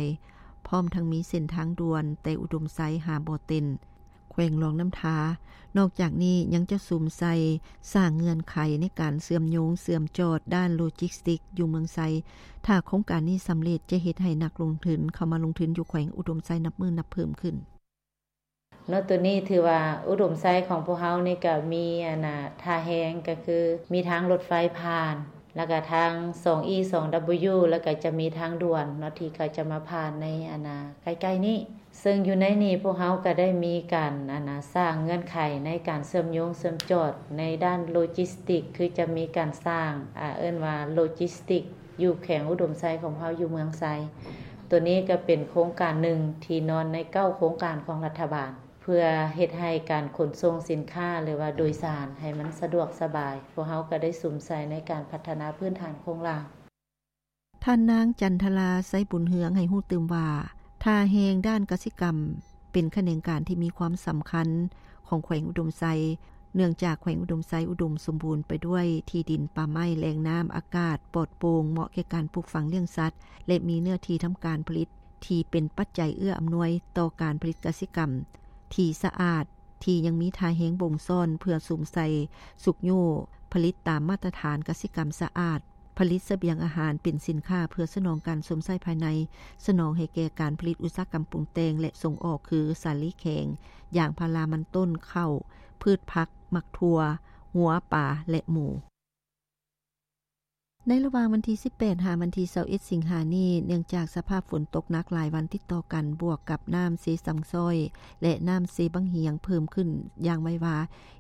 ພ້ອມທັງມີເສັ້ນທາງດ່ວນແຕ່ອຸດົມໄຊຫາບໍ່ເຕັນ ແຂວງຫຼວງນ້ຳທາ. ນອກຈາກນີ້ຍັງຈະສຸມໃສ່ສ້າງເງື່ອນໄຂໃນການເຊື່ອມໂຍງເຊື່ອມຈອດດ້ານໂລຈິສຕິກຢູ່ເມືອງໄຊ. ຖ້າໂຄງການນີ້ສຳເລັດ ຈະເຮັດໃຫ້ນັກລົງທຶນເຂົ້າມາລົງທຶນຢູ່ແຂວງອຸດົມໄຊນັບມື້ນັບເພີ່ມຂຶ້ນ. ເນາະ ໂຕນີ້ຖືວ່າອຸດົມໄຊຂອງພວກເຮົານີ້ກະມີ ອັນນ່າ ທ່າແຮງ ກະຄືມີທາງລົດໄຟຜ່ານ ແລ້ວກະທາງ ສອງອີ ສອງດັບເບິນຢູ ແລ້ວກະຈະມີທາງດ່ວນເນາະ ທີ່ເຂົາຈະມາຜ່ານໃນ ອັນນ່າ ໃກ້ໆນີ້. ເຊິ່ງຢູ່ໃນນີ້ພວກເຮົາກະໄດ້ມີການ ອັນນ່າ ສ້າງເງື່ອນໄຂໃນການເຊື່ອມໂຍງເຊື່ອມຈອດໃນດ້ານໂລຈິສຕິກ ຄືຈະມີການສ້າງ ອາ ເອີ້ນວ່າໂລຈິສຕິກ ຢູ່ແຂວງອຸດົມໄຊຂອງເຮົາ ຢູ່ເມືອງໄຊ. ໂຕນີ້ກະເປັນໂຄງການໜຶ່ງທີ່ນອນໃນເກົ້າໂຄງການຂອງລັດຖະບານ ເພື່ອເຮັດໃຫ້ການຂົນສົ່ງສິນຄ້າ ຫຼືວ່າໂດຍສານໃຫ້ມັນສະດວກສະບາຍ. ພວກເຮົາກະໄດ້ສຸມໃສ່ໃນການພັດທະນາພື້ນຖານໂຄງລ່າງ. ທ່ານນາງ ຈັນທະລາ ໄຊບຸນເຮືອງ ໃຫ້ຮູ້ຕື່ມວ່າ ທ່າແຮງດ້ານກະສິກຳ ເປັນຂະແໜງການທີ່ມີຄວາມສຳຄັນຂອງແຂວງອຸດົມໄຊ ເນື່ອງຈາກແຂວງອຸດົມໄຊອຸດົມສົມບູນໄປດ້ວຍທີ່ດິນ, ປ່າໄມ້, ແຫຼ່ງນ້ຳ, ອາກາດປອດໂປ່ງ ເໝາະແກ່ການປູກຝັງລ້ຽງສັດ ແລະ ມີເນື້ອທີ່ທຳການຜະລິດທີ່ເປັນປັດໄຈເອື້ອອຳນວຍຕໍ່ການຜະລິດກະສິກຳທີ່ສະອາດ, ທີ່ຍັງມີທ່າແຮງບົ່ງຊ້ອນເພື່ອສຸມໃສ່ຊຸກຍູ້ຜະລິດຕາມມາດຕະຖານກະສິກຳສະອາດ, ຜະລິດສະບຽງອາຫານເປັນສິນຄ້າເພື່ອສະໜອງການຊົມໃຊ້ພາຍໃນ, ສະໜອງໃຫ້ແກ່ການຜະລິດອຸດສາຫະກຳປຸງແຕ່ງ ແລະ ສົ່ງອອກ ຄື ສາລີແຂງ, ຢາງພາລາ, ມັນຕົ້ນ, ເຂົ້າ, ພືດຜັກ, ໝາກຖົ່ວ, ງົວ, ປາ ແລະ ໝູ. ໃນລະຫວ່າງວັນທີສິບແປດ ຫາວັນທີຊາວເອັດ ສິງຫານີ້, ເນື່ອງຈາກສະພາບຝົນຕົກໜັກຫຼາຍວັນຕິດຕໍ່ກັນ ບວກກັບນ້ຳເຊຊັງຊ້ອຍ ແລະ ນ້ຳເຊບັ້ງຫຽງເພີ່ມຂຶ້ນຢ່າງໄວວາ,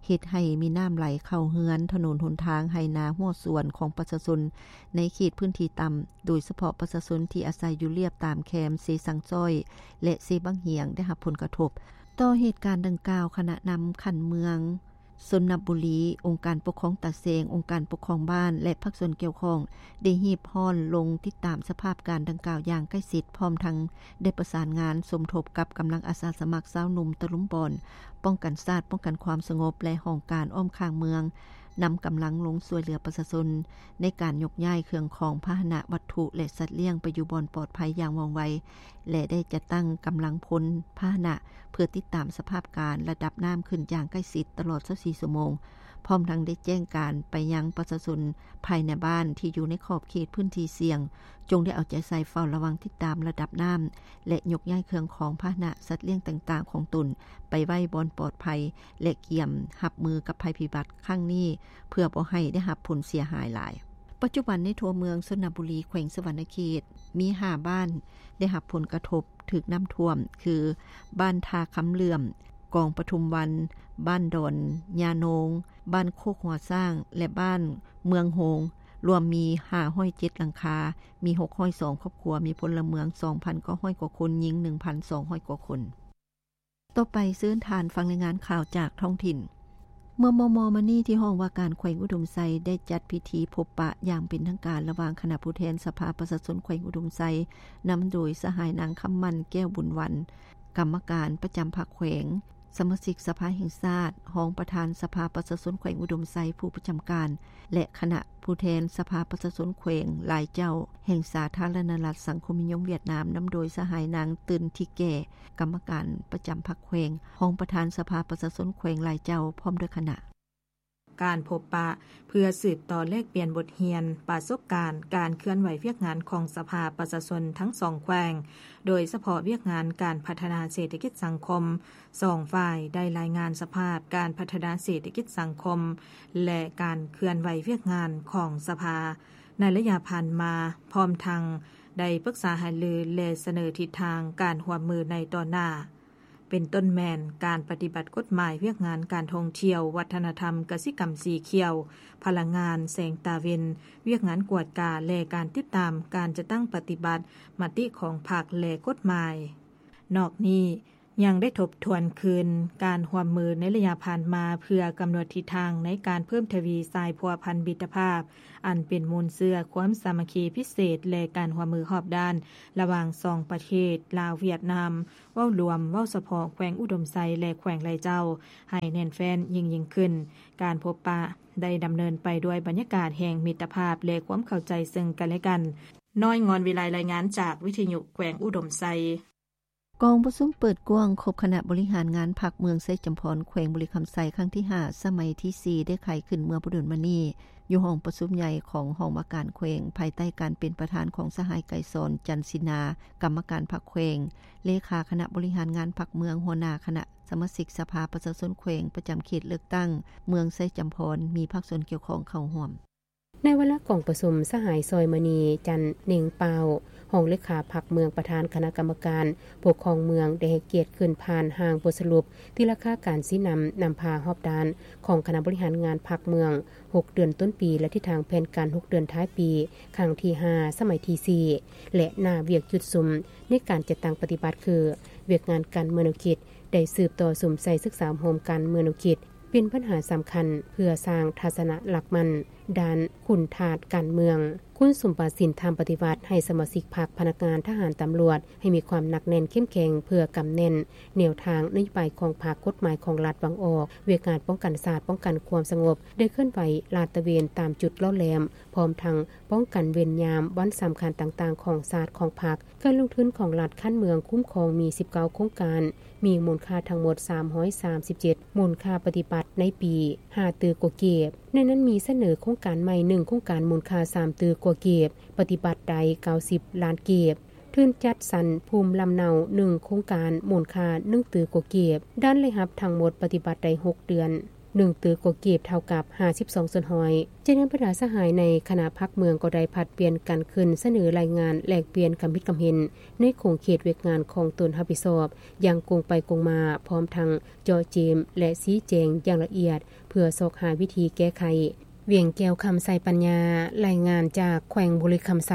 ເຮັດໃຫ້ມີນ້ຳໄຫຼເຂົ້າເຮືອນ, ຖະໜົນຫົນທາງ, ໄຮ່ນາ, ຮົ້ວສວນຂອງປະຊາຊົນໃນເຂດພື້ນທີ່ຕ່ຳ, ໂດຍສະເພາະປະຊາຊົນທີ່ອາໄສຢູ່ລຽບຕາມແຄມເຊຊັງຊ້ອຍ ແລະ ເຊບັ້ງຫຽງ ໄດ້ຮັບຜົນກະທົບ. ຕໍ່ເຫດການດັ່ງກ່າວ, ຄະນະນຳຂັ້ນເມືອງ, ຊົນນະບູລີ, ອົງການປົກຄອງຕາແສງ, ອົງການປົກຄອງບ້ານ ແລະ ພາກສ່ວນກ່ຽວຂ້ອງ ໄດ້ຮີບຮ້ອນລົງຕິດຕາມສະພາບການດັ່ງກ່າວຢ່າງໃກ້ຊິດ, ພ້ອມທັງໄດ້ປະສານງານສົມທົບກັບກຳລັງອາສາສະໝັກຊາວໜຸ່ມຕະລຸມບ່ອນ ປ້ອງກັນຊາດ, ປ້ອງກັນຄວາມສະຫງົບ ແລະ ຫ້ອງການອ້ອມຂ້າງເມືອງ, ນຳກຳລັງລົງຊ່ວຍເຫຼືອປະຊາຊົນໃນການຍົກຍ້າຍເຄື່ອງຂອງ, ພາຫະນະ, ວັດຖຸ ແລະ ສັດລ້ຽງໄປຢູ່ບ່ອນປອດໄພຢ່າງວ່ອງໄວ ແລະ ໄດ້ຈັດຕັ້ງກຳລັງພົນພາຫະນະ ເພື່ອຕິດຕາມສະພາບການ, ລະດັບນ້ຳຂຶ້ນຢ່າງໃກ້ຊິດຕະຫຼອດຊາວສີ່ຊົ່ວໂມງ, ພ້ອມທັງໄດ້ແຈ້ງການໄປຍັງປະຊາຊົນພາຍໃນບ້ານທີ່ຢູ່ໃນຂອບເຂດພື້ນທີ່ສ່ຽງ, ຈົ່ງໄດ້ເອົາໃຈໃສ່ເຝົ້າລະວັງຕິດຕາມລະດັບນ້ຳ ແລະ ຍົກຍ້າຍເຄື່ອງຂອງພາຫະນະສັດລ້ຽງຕ່າງໆຂອງຕົນໄປໄວ້ບ່ອນປອດໄພ ແລະ ກຽມຮັບມືກັບໄພພິບັດຄັ້ງນີ້ ເພື່ອບໍ່ໃຫ້ໄດ້ຮັບຜົນເສຍຫາຍຫຼາຍ. ປັດຈຸບັນໃນທົ່ວເມືອງຊົນນະບູລີ ແຂວງສະຫວັນນະເຂດ ມີຫ້າບ້ານໄດ້ຮັບຜົນກະທົບຖືກນ້ຳຖ້ວມ ຄື ບ້ານທ່າຄຳເຫຼື້ອມ, ກອງປະທຸມວັນ, ບ້ານດອນຍາໂນງ, ບ້ານໂຄກຫົວຊ້າງ ແລະ ບ້ານເມືອງໂຮງ ລວມມີຫ້າຮ້ອຍເຈັດຫຼັງຄາ, ມີຫົກຮ້ອຍສອງຄອບຄົວ, ມີພົນລະເມືອງສອງພັນເກົ້າຮ້ອຍກວ່າຄົນ, ຍິງໜຶ່ງພັນສອງຮ້ອຍກວ່າຄົນ. ຕໍ່ໄປເຊີນທ່ານຟັງລາຍງານຂ່າວຈາກທ້ອງຖິ່ນ. ເມື່ອມໍ່ໆມານີ້ ທີ່ຫ້ອງວ່າການແຂວງອຸດົມໄຊ ໄດ້ຈັດພິທີພົບປະຢ່າງເປັນທາງການ ລະຫວ່າງຄະນະຜູ້ແທນສະພາປະຊາຊົນແຂວງອຸດົມໄຊ ນຳໂດຍສະຫາຍນາງຄຳໝັ້ນ ແກ້ວບຸນວັນ ກຳມະການປະຈຳພັກແຂວງ, ສະມາຊິກສະພາແຫ່ງຊາດ, ຮອງປະທານສະພາປະຊາຊົນແຂວງອຸດົມໄຊ ຜູ້ປະຈຳການ ແລະ ຄະນະຜູ້ແທນສະພາປະຊາຊົນແຂວງຫຼາຍເຈົ້າ ແຫ່ງສາທາລະນະລັດສັງຄົມນິຍົມຫວຽດນາມ ນຳໂດຍສະຫາຍນາງ ຕື່ນ ທິແກ່ ກຳມະການປະຈຳພັກແຂວງ, ຮອງປະທານສະພາປະຊາຊົນແຂວງຫຼາຍເຈົ້າ ພ້ອມດ້ວຍຄະນະ. ການພົບປະເພື່ອສືບຕໍ່ແລກປ່ຽນບົດຮຽນປະສົບການການເຄື່ອນໄຫວວຽກງານຂອງສະພາປະຊາຊົນທັງສອງແຂວງ, ໂດຍສະເພາະວຽກງານການພັດທະນາເສດຖະກິດສັງຄົມ. ສອງຝ່າຍໄດ້ລາຍງານສະພາບການພັດທະນາເສດຖະກິດສັງຄົມ ແລະ ການເຄື່ອນໄຫວວຽກງານຂອງສະພາໃນໄລຍະຜ່ານມາ, ພ້ອມທັງໄດ້ປຶກສາຫາລື ແລະ ສະເໜີທິດທາງການຮ່ວມມືໃນຕໍ່ໜ້າ, ເປັນຕົ້ນແມ່ນການປະຕິບັດກົດໝາຍວຽກງານການທ່ອງທ່ຽວ, ວັດທະນະທຳ, ກະສິກຳສີຂຽວ, ພະລັງງານ, ແສງຕາເວັນ, ວຽກງານກວດກາ ແລະ ການຕິດຕາມການຈັດຕັ້ງປະຕິບັດມະຕິຂອງພັກ ແລະ ກົດໝາຍ. ນອກນີ້ ຍັງໄດ້ທົບທວນຄືນການຮ່ວມມືໃນໄລຍະຜ່ານມາ ເພື່ອກຳນົດທິດທາງໃນການເພີ່ມທະວີສາຍພົວພັນມິດຕະພາບ ອັນເປັນມູນເຊື້ອຄວາມສາມັກຄີພິເສດ ແລະ ການຮ່ວມມືຮອບດ້ານລະຫວ່າງສອງປະເທດ ລາວ-ຫວຽດນາມ ເວົ້າລວມ, ເວົ້າສະເພາະແຂວງອຸດົມໄຊ ແລະ ແຂວງໄລເຈົ້າ ໃຫ້ແໜ້ນແຟ້ນຍິ່ງໆຂຶ້ນ. ການພົບປະໄດ້ດຳເນີນໄປດ້ວຍບັນຍາກາດແຫ່ງມິດຕະພາບ ແລະ ຄວາມເຂົ້າໃຈເຊິ່ງກັນແລະກັນ. ນ້ອຍ ງອນວິໄລ ລາຍງານຈາກວິທະຍຸແຂວງອຸດົມໄຊ. ກອງປະຊຸມເປີດກວ້າງຄົບຄະນະບໍລິຫານງານພັກເມືອງໄຊຈຳພອນ ແຂວງບໍລິຄຳໄຊ ຄັ້ງທີຫ້າ ສະໄໝທີສີ່ ໄດ້ໄຂຂຶ້ນເມື່ອບໍ່ດົນມານີ້ ຢູ່ຫ້ອງປະຊຸມໃຫຍ່ຂອງຫ້ອງວ່າການແຂວງ ພາຍໃຕ້ການເປັນປະທານຂອງສະຫາຍ ໄກສອນ ຈັນສິນາ ກຳມະການພັກແຂວງ, ເລຂາຄະນະບໍລິຫານງານພັກເມືອງ, ຫົວໜ້າຄະນະສະມາຊິກສະພາປະຊາຊົນແຂວງປະຈຳເຂດເລືອກຕັ້ງເມືອງໄຊຈຳພອນ, ມີພາກສ່ວນກ່ຽວຂ້ອງເຂົ້າຮ່ວມ. ໃນວາລະກອງປະຊຸມ, ສະຫາຍ ຊອຍມະນີ ຈັນເນັ່ງປາວ ຮອງເລຂາພັກເມືອງ, ປະທານຄະນະກຳມະການປົກຄອງເມືອງ ໄດ້ໃຫ້ກຽດຂຶ້ນຜ່ານຮ່າງບົດສະຫຼຸບຕີລາຄາການຊີ້ນຳ ນຳພາຮອບດ້ານຂອງຄະນະບໍລິຫານງານພັກເມືອງ ຫົກເດືອນຕົ້ນປີ ແລະ ທິດທາງແຜນການ ຫົກເດືອນທ້າຍປີ ຄັ້ງທີຫ້າ ສະໄໝທີສີ່ ແລະ ໜ້າວຽກຈຸດສຸມໃນການຈັດຕັ້ງປະຕິບັດ ຄື ວຽກງານການເມືອງແນວຄິດ ໄດ້ສືບຕໍ່ສຸມໃສ່ສຶກສາອົບຮົມການເມືອງແນວຄິດ ເປັນບັນຫາສຳຄັນເພື່ອສ້າງທັດສະນະຫຼັກໝັ້ນດ້ານຄຸນທາດການເມືອງ, ຄຸນສົມບັດສິນທຳປະຕິວັດ ໃຫ້ສະມາຊິກພັກ, ພະນັກງານ, ທະຫານ, ຕຳຫຼວດ ໃຫ້ມີຄວາມໜັກແໜ້ນເຂັ້ມແຂງ ເພື່ອກຳແໜ້ນແນວທາງນະໂຍບາຍຂອງພັກ, ກົດໝາຍຂອງລັດ, ວາງອອກວຽກງານປ້ອງກັນຊາດ, ປ້ອງກັນຄວາມສະຫງົບ, ໄດ້ເຄື່ອນໄຫວລາດຕະເວນຕາມຈຸດຫຼໍ່ແຫຼມ, ພ້ອມທັງປ້ອງກັນເວນຍາມວັນສຳຄັນຕ່າງໆຂອງຊາດ, ຂອງພັກ. ການລົງທຶນຂອງລັດຂັ້ນເມືອງຄຸ້ມຄອງມີສິບເກົ້າໂຄງການ, ມີມູນຄ່າທັງໝົດສາມຮ້ອຍສາມສິບເຈັດ, ມູນຄ່າປະຕິບັດໃນປີຫ້າຕື້ກວ່າກີບ. ໃນນັ້ນມີສະເໜີໂຄງການໃໝ່ໜຶ່ງໂຄງການ ມູນຄ່າສາມຕື້ກວ່າກີບ, ປະຕິບັດໄດ້ເກົ້າສິບລ້ານກີບ. ທຶນຈັດສັນພູມລຳເນົາໜຶ່ງໂຄງການ ມູນຄ່າໜຶ່ງຕື້ກວ່າກີບ. ດ້ານລາຍຮັບທັງໝົດປະຕິບັດໄດ້ຫົກເດືອນ ໜຶ່ງຕື້ກວ່າກີບ ເທົ່າກັບຫ້າສິບສອງສ່ວນຮ້ອຍ. ຈາກນັ້ນ ບັນດາສະຫາຍໃນຄະນະພັກເມືອງກໍໄດ້ຜັດປ່ຽນກັນຂຶ້ນສະເໜີລາຍງານແລກປ່ຽນຄຳຄິດຄຳເຫັນໃນຂົງເຂດວຽກງານຂອງຕົນຮັບຜິດຊອບຢ່າງກົງໄປກົງມາ, ພ້ອມທັງເຈາະເຈາະ ແລະ ຊີ້ແຈງຢ່າງລະອຽດ ເພື່ອຊອກຫາວິທີແກ້ໄຂ. ວຽງແກ້ວ ຄຳໄຊປັນຍາ, ລາຍງານຈາກແຂວງບໍລິຄຳໄຊ.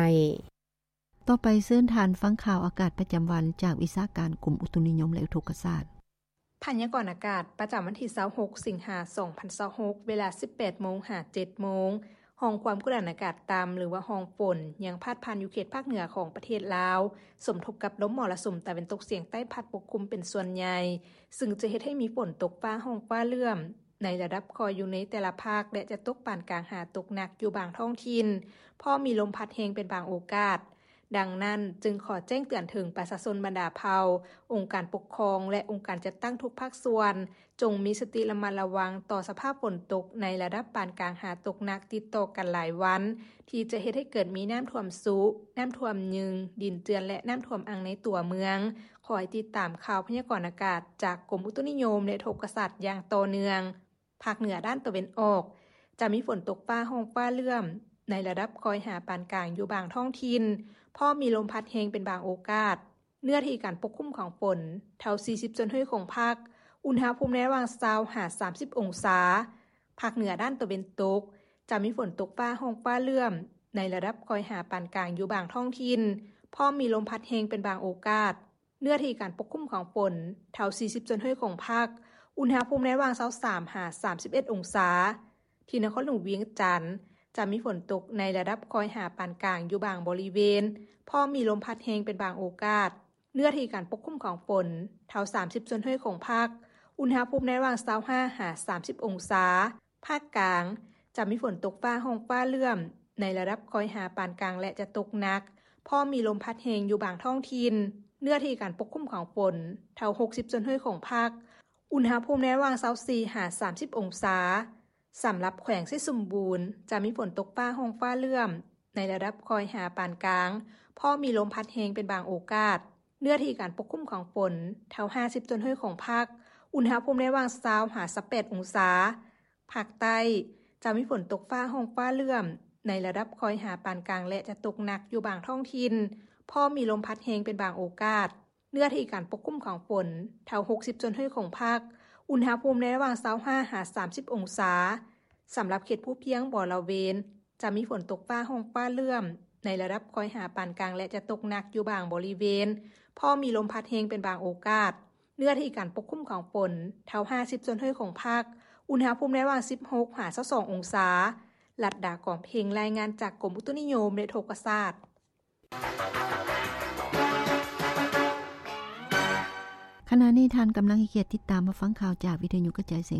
ຕໍ່ໄປເຊີນທ່ານຟັງຂ່າວອາກາດປະຈຳວັນຈາກວິຊາການກົມອຸຕຸນິຍົມ ແລະ ອຸທົກກະສາດ. ພະຍາກອນອາກາດປະຈຳວັນທີຊາວຫົກ ສິງຫາ ສອງພັນຊາວຫົກ, ເວລາ ສິບແປດໂມງ ຫາ ເຈັດໂມງ, ຮ່ອງຄວາມກົດອາກາດຕ່ຳ ຫຼືວ່າຮ່ອງຝົນ ຍັງພາດຜ່ານຢູ່ເຂດພາກເໜືອຂອງປະເທດລາວ, ສົມທົບກັບລົມມໍລະສຸມຕາເວັນຕົກສຽງໃຕ້ພັດປົກຄຸມເປັນສ່ວນໃຫຍ່, ຊຶ່ງຈະເຮັດໃຫ້ມີຝົນຕົກຟ້າຮ້ອງຟ້າເຫຼື້ອມ ໃນລະດັບຄ່ອຍຢູ່ໃນແຕ່ລະພາກ ແລະ ຈະຕົກປານກາງຫາຕົກໜັກຢູ່ບາງທ້ອງຖິ່ນ, ພ້ອມມີລົມພັດແຮງເປັນບາງໂອກາດ. ດັ່ງນັ້ນ, ຈຶ່ງຂໍແຈ້ງເຕືອນເຖິງປະຊາຊົນບັນດາເຜົ່າ, ອົງການປົກຄອງ ແລະ ອົງການຈັດຕັ້ງທຸກພາກສ່ວນ, ຈົ່ງມີສະຕິລະມັດລະວັງຕໍ່ສະພາບຝົນຕົກໃນລະດັບປານກາງຫາຕົກໜັກຕິດຕໍ່ກັນຫຼາຍວັນ, ທີ່ຈະເຮັດໃຫ້ເກີດມີນ້ຳຖ້ວມຊຸ, ນ້ຳຖ້ວມຍືງ, ດິນເຈື່ອນ ແລະ ນ້ຳຖ້ວມອັ່ງໃນຕົວເມືອງ. ຂໍໃຫ້ຕິດຕາມຂ່າວພະຍາກອນອາກາດຈາກກົມອຸຕຸນິຍົມ ແລະ ອຸທົກກະສາດຢ່າງຕໍ່ເນື່ອງ. ພາກເໜືອດ້ານຕາເວັນອອກ ຈະມີຝົນຕົກຟ້າຮ້ອງຟ້າເຫຼື້ອມ, ໃນລະດັບຄ່ອຍຫາປານກາງຢູ່ບາງທ້ອງຖິ່ນ, ພ້ອມມີລົມພັດແຮງເປັນບາງໂອກາດ. ເນື້ອທີ່ການປົກຄຸມຂອງຝົນ ເທົ່າສີ່ສິບສ່ວນຮ້ອຍຂອງພາກ, ອຸນຫະພູມໃນລະຫວ່າງຊາວຫາສາມສິບອົງສາ. ພາກເໜືອດ້ານຕາເວັນຕົກ ຈະມີຝົນຕົກຟ້າຮ້ອງຟ້າເຫຼື້ອມ ໃນລະດັບຄ່ອຍຫາປານກາງຢູ່ບາງທ້ອງຖິ່ນ, ພ້ອມມີລົມພັດແຮງເປັນບາງໂອກາດ. ເນື້ອທີ່ການປົກຄຸມຂອງຝົນ ເທົ່າສີ່ສິບສ່ວນຮ້ອຍຂອງພາກ, ອຸນຫະພູມໃນລະຫວ່າງຊາວສາມຫາສາມສິບເອັດອົງສາ. ທີ່ນະຄອນຫຼວງວຽງຈັນ ຈະມີຝົນຕົກໃນລະດັບຄ່ອຍຫາປານກາງຢູ່ບາງບໍລິເວນ, ພ້ອມມີລົມພັດແຮງເປັນບາງໂອກາດ. ເນື້ອທີ່ການປົກຄຸມຂອງຝົນ ເທົ່າສາມສິບສ່ວນຮ້ອຍຂອງພາກ, ອຸນຫະພູມໃນລະຫວ່າງຊາວຫ້າຫາສາມສິບອົງສາ. ພາກກາງ ຈະມີຝົນຕົກຟ້າຮ້ອງຟ້າເຫຼື້ອມ ໃນລະດັບຄ່ອຍຫາປານກາງ ແລະ ຈະຕົກໜັກ, ພ້ອມມີລົມພັດແຮງຢູ່ບາງທ້ອງຖິ່ນ. ເນື້ອທີ່ການປົກຄຸມຂອງຝົນ ເທົ່າຫົກສິບສ່ວນຮ້ອຍຂອງພາກ, ອຸນຫະພູມໃນລະຫວ່າງຊາວສີ່ຫາສາມສິບອົງສາ. ສຳລັບແຂວງໄຊສົມບູນ ຈະມີຝົນຕົກຟ້າຮ້ອງຟ້າເຫຼື້ອມ ໃນລະດັບຄ່ອຍຫາປານກາງ, ພ້ອມມີລົມພັດແຮງເປັນບາງໂອກາດ. ເນື້ອທີ່ການປົກຄຸມຂອງຝົນ ເທົ່າຫ້າສິບສ່ວນຮ້ອຍຂອງພາກ, ອຸນຫະພູມໃນລະຫວ່າງຊາວຫາຊາວແປດອົງສາ. ພາກໃຕ້ ຈະມີຝົນຕົກຟ້າຮ້ອງຟ້າເຫຼື້ອມ ໃນລະດັບຄ່ອຍຫາປານກາງ ແລະ ຈະຕົກໜັກຢູ່ບາງທ້ອງຖິ່ນ, ພ້ອມມີລົມພັດແຮງເປັນບາງໂອກາດ. ເນື້ອທີ່ການປົກຄຸມຂອງຝົນ ເທົ່າຫົກສິບສ່ວນຮ້ອຍຂອງພາກ, ອຸນຫະພູມໃນລະຫວ່າງຊາວຫ້າຫາສາມສິບອົງສາ. ສຳລັບເຂດພູພຽງບໍລະເວນ ຈະມີຝົນຕົກຟ້າຮ້ອງຟ້າເຫຼື້ອມ ໃນລະດັບຄ່ອຍຫາປານກາງ ແລະ ຈະຕົກໜັກຢູ່ບາງບໍລິເວນ, ພ້ອມມີລົມພັດແຮງເປັນບາງໂອກາດ. ເນື້ອທີ່ການປົກຄຸມຂອງຝົນ ເທົ່າຫ້າສິບສ່ວນຮ້ອຍຂອງພາກ, ອຸນຫະພູມໃນລະຫວ່າງສິບຫົກຫາຊາວສອງອົງສາ. ລັດດາ ກອງເພັງ ລາຍງານຈາກກົມອຸຕຸນິຍົມ ແລະ ອຸທົກກະສາດ. ຂະນະນີ້ທ່ານກຳລັງໃຫ້ກຽດຕິດຕາມມາຟັງຂ່າວຈາກວິທະຍຸກະຈາຍສຽງ